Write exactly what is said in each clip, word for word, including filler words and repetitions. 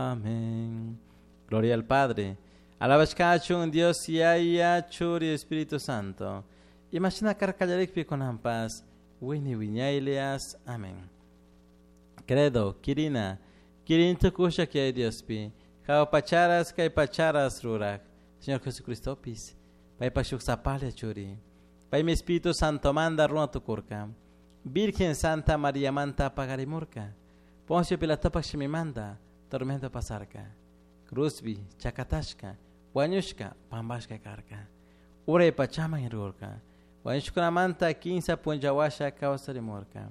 Amén. Gloria al Padre. Alabashkachun Dios Yaya Churi Espíritu Santo. Imashina karka kunanpas wiñay wiñaylias. Amén. Credo, Kirina, Kirin tukusha kay Diospi. Jahua pacharas kay pacharas rurak. Señor Jesucristopis. Paypa shuk sapalla churi. Paymi Espíritu Santo manda runa tukurka. Virgen Santa María manta pagarimurka. Poncio Pilatopak shimimanta tormento pasarka. Cruzbi, chakatashka, wañushka, pambashka karka. Uray pachaman irurka. Wañushkunamanta kinsa punllawasha kawsarimurka.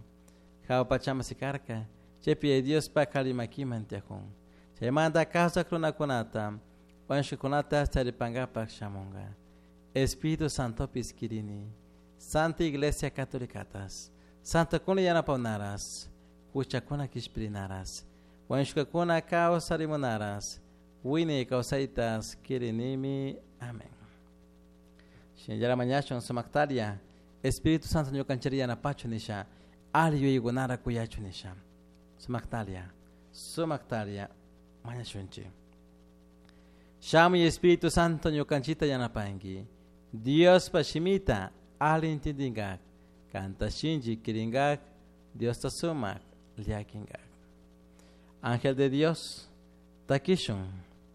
Jahua pachaman sikarka. Chaypi Diospa kali makiman tiyakun. Chaymanta kawsak runakunata, wañushkakunata charipankapak shamunka. Espíritu Santopis kirini. Santa Iglesia Catolicatas. Santokuna yanapawnaras. Huchakuna kishpirinaras. Wañushkakuna kawsarimunaras. Wiñay kawsaytas kirinimi. Amén. Shinallara mañashun sumaktaria. Espíritu Santo ñukanchiri yanapachu nisha. Ali yuyaykunara kuyachu nisha. Sumaktaria. Sumaktaria. Mañashunchik. Shamuy Espíritu Santo ñukanchita yanapanki. Diospa shimita ali intindinkak. Kanta shinchi kirinkak. Diosta sumak llakinkak. Ángel de Dios, takishun.